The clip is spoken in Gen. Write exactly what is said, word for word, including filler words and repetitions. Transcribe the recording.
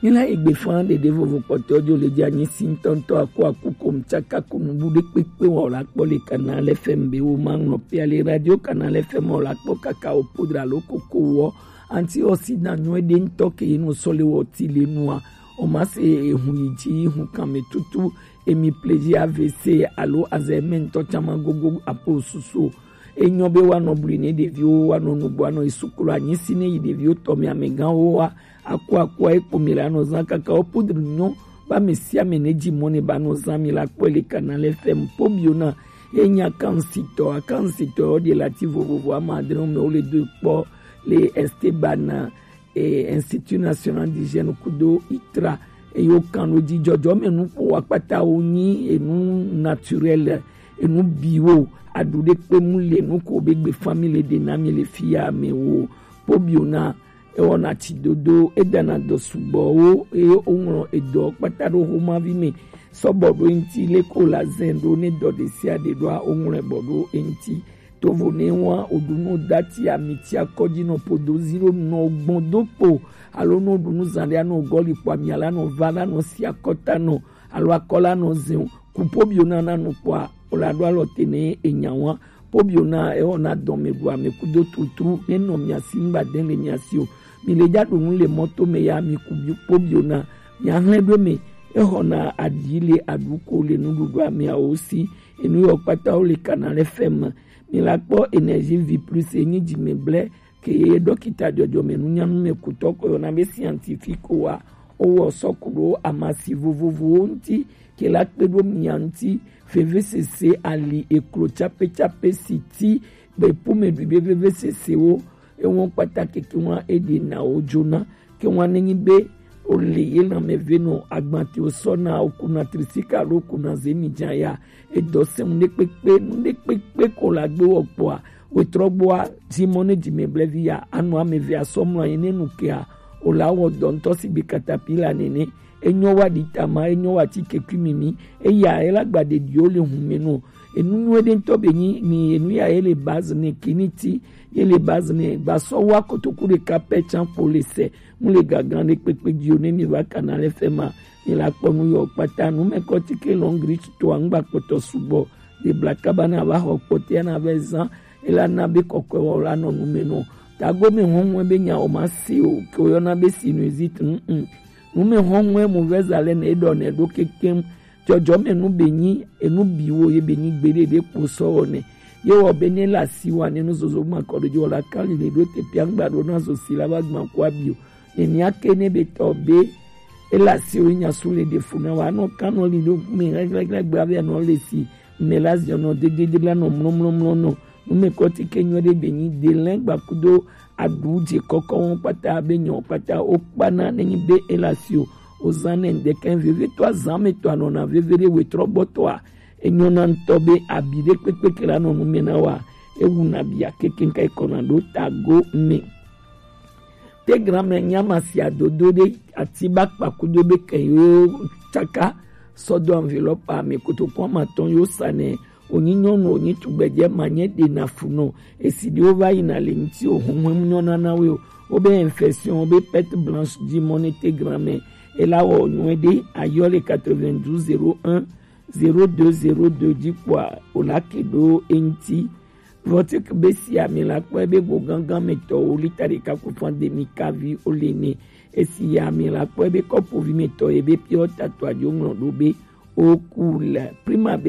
Ila egbe fan ɖeɖe vovo kpɔtɔ jo le dza nyi si ŋutɔŋutɔ aku aku kom tsaka kunu bu ɖe kpekpe wɔ la kpɔ le Canal F M be wo ma ŋlɔ pia le Radio Canal F M wɔ la kpɔ kaka o podra lo koko wɔ anti oxydant nyɔ ɖe ŋutɔ ke ye no sɔ le wɔ ti le nua o ma se ehun yi dzi hun kan me tutu emi plaisir A V C alo Alzheimer ŋutɔ tsama gogo apo susu o. Enyɔ be woanɔ blui ne ɖeviwo woanɔ nugbo anɔ yi sukulu anyi si ne yi ɖeviwo tɔ me amegãwo wa aku akua ekpo mi la nɔ zã kaka wo podri nyɔ ba me sia me ne dzi mɔ ne ba nɔ zã mi la kpɔe le Canal F M po bio na ye nya kansitɔ akansitɔ wo de la ti vovovo ama adre me wo le do kpɔ le Esteban eh, Institut National d'Hygiène kudo itra eye wokan ɖo dzi dzɔdzɔme nuƒo akpata wo nyi enu naturel enu biwo aɖu ɖe kpe mu le nu ko be gbe family ɖe na mi le fi ya me wo po bio na ewɔna tsi dodo edana dɔ sugbɔwo eye woŋlɔ edɔ kpata ɖo xomavi me sɔbɔ ɖo eŋti leko la zɛn ɖo ne dɔ ɖe sia ɖe ɖoa woŋlɔe bɔ ɖo eŋti tovo ne wa oɖunu dati amiti akɔdzi nɔ podo zi ɖo nɔ gbɔn do kpo alo nɔ ɖunu zan ɖe anɔ gɔli kpo ami ala nɔ va la nɔ si akɔta nɔ alo akɔ la nɔ zɛn kupo bio na na nu kpɔa o la ɖo alɔ te ne enya wa po bio na ewɔ na dɔn me ɖu ame kudo tutru ne nɔ mia si ŋgba de le mia si o mi le dza ɖu nu le mɔto me ya mi ku bio po bio na mia hlɛ ɖo me exɔ na aɖi le aɖu ko le nuɖuɖu ameawo si enu yɔ kpata wo le Canal F M mi la kpɔ Énergie Vie Plus enyi dzime blɛ ke ye dɔkita dzɔdzɔme nunyanu me kutɔ ko yɔna be scientifique wa owɔ sɔku ɖo amasi vovovowo ŋti ke la kpe ɖo mia ŋti vevesese ali eklo tsapetsape si ti be ƒome ɖui be vevesesewo ewo kpata keke wa eɖe na wo dzona ke wa nenyi be o le ye lãme ve nɔ agbati o sɔ na o kuna trisika alo o kuna zemi dza ya edɔ sɛmu ɖe kpekpe nu ɖe kpekpe ko la gbe wɔ kpɔa wetrɔ gbɔa dzimɔ ne dzime blɛvi ya anɔ ame ve asɔ mlɔ anyi ne nu kea o la wɔ dɔ ŋutɔ si gbe katapila nene enyɔ wa ɖi tama enyɔ wa ti kekui mimi eya ela gba ɖeɖiwo le hun me nɔ enu nyuie ɖe ŋutɔ be nyi ni enu ya ye le base ne kiniti ye le base ne gbasɔ wa kotoku ɖeka pɛ tsan kpo le sɛ mu le gagan ɖe kpekpe dzi o ne mi va Canal F M a mi la kpɔ nu yɔ kpata nu me kɔ ti ke long reach to angba kpɔtɔ sugbɔ de bla kaba na va xɔ kpɔtɛ na vɛ zan ela na be kɔkɔe wɔ la nɔ nu me nɔ tago me hɔn hɔn be nya o ma se o ke o yɔ na be sinusite mm mm nu me hɔn hɔn mu vɛ za le ne ɖɔ ne ɖo kekem dzɔdzɔme nu be nyi enu biwo ye be nyi gbeɖe ɖe kpo sɔ wɔ ne ye wɔ be ne la si wa ne nu zozo ma kɔ ɖo dzi wɔ la kan li ne ɖo te pia ŋgba ɖo na zo si la va gba kua bio ne mia ke ne be tɔ be ela si wo nya su le ɖe fu na wa nɔ kan nɔ li ɖo me ɣlɛɣlɛɣlɛ gbe avɛ nɔ le si me la ziɔ nɔ dedede la nɔ mlɔmlɔmlɔ nɔ nu me kɔ ti ke nyɔ ɖe be nyi de lɛ gba kudo aɖu dze kɔkɔ wɔn kpata be nyɔ kpata wo kpana ne nyi be ela si o o zan ne ŋdɛkɛ veve to azan me to anɔna veve ɖe wetrɔ gbɔtɔa enyɔna ŋutɔ be abi ɖe kpekpe ke la nɔ nu me na wa ewu na bia kekeŋ ka ekɔna ɖo tago me te gran me nyama si adodo ɖe ati ba kpa kudo be ke yo tsaka sɔdo enveloppe ame kotoko ama tɔn yo sa ne onyi nyɔnu onyi tugbedze ma nye ɖe na fu nɔ esi ɖewo va yina le ŋuti o huhun nyɔna na wo o wobe infection wobe perte blanche dzi mɔ ne te gran me ela wɔ nyuie ɖe ayɔ le quatre-vingt-douze zéro un zéro deux zéro deux dzi kpɔa o la ke ɖo eŋti Vɔtik be si ami la kpɔe be go gangan me tɔwo lita ɖeka ku fan demi kavi o le ne esi ya ami la kpɔe be kɔpuvi me tɔ ye be piɔ tato adzo ŋlɔ ɖo be o ku le prima be